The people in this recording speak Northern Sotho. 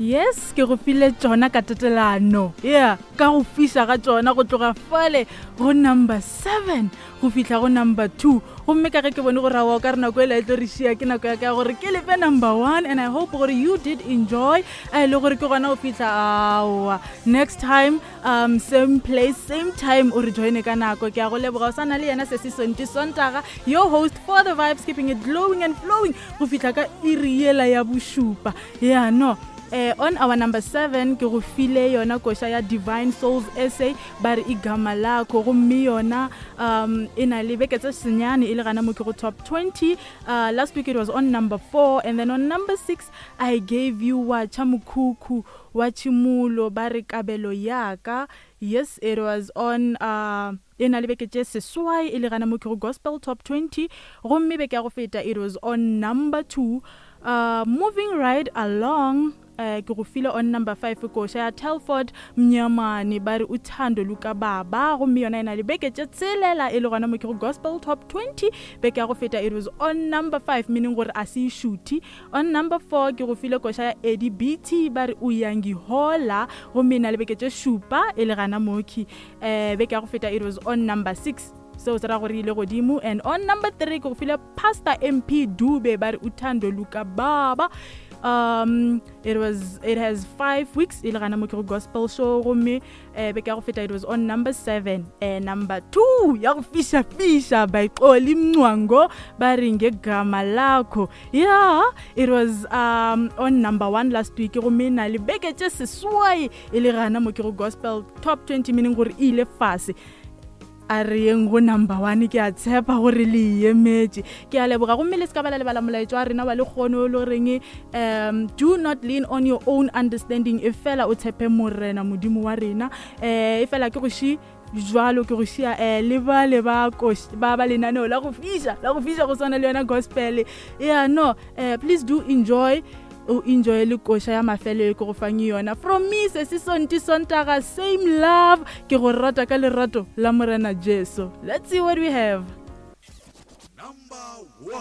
Yes, ke go file tšona ka tatelano. Yeah, ka go fiša ga tšona go tloga fale go number 7 go fihla go number 2. Gomme ka ge ke bone gore aowa o ka re nako ela e tlo re šia, ke nako ya ka ya gore ke lefe number 1 and I hope gore you did enjoy. A e le gore ke gona go fihla aowa. Next time um same place same time o re joine ka nako. Ke a go leboga o sa na le yena Sesi Sonti Sontaga, your host for the vibes keeping it glowing and flowing go fihla ka iri yela ya bošupa. Yeah, no. Eh, on our number 7 ke go file yona koša ya Divine Souls SA ba re igama lakho gomme yona um e na le beke tse senyane e le gana mo ke go top 20. Last week it was on number 4 and then on number 6 I gave you wa tšha mokhukhu wa tšhimulo ba re kabelo yaka. Yes, it was on e na le beke tše seswai e le gana mo ke go Gospel Top 20 gomme beke ya go feta it was on number 2. Moving right along, ke go file on number 5 koša ya Telford Mnyamane ba re uthando lukababa gomme yona e na le beke tše tshelela e le gona mo ke go Gospel Top 20. Beke ya go feta it was on number 5, meaning gore a se e šuthi. On number 4 ke go file koša ya Eddie BT ba re uyangihola gomme e na le beke tše šupa e le gana mokhi. Beke ya go feta it was on number 6, seo se ra gore ile godimo. And on number 3 ke go file Pastor MP Dube ba re uthando luka baba. It has 5 weeks e le gana mo ke go gospel show gomme beke ya go feta it was on number 7. Number 2 ya go fiša fiša by Xoli Mncwango ba re ngegama lakho. Yeah, it was on number 1 last week gomme na le beke tše seswai e le gana mo ke go gospel top 20, meaning gore e ile fase. A re yeng go number 1, ke a tshepa gore le emetše. Ke a leboga gomme le se ka ba la lebala molaetšo wa rena wa lekgono o le goreng do not lean on your own understanding, e fela o tshepe Morena Modimo wa rena. E fela ke go ši jwalo ke go šia le ba le ba koš, ba ba lenaneo la go fiša, la go fiša go swana le yona gospel. Yeah, no, please do enjoy, o enjoy le koša ya mafelo e ke go fang yona. From me Sesi Sonti Sontaga, same love, ke go rata ka lerato la Morena Jesu. Let's see what we have. Number 1.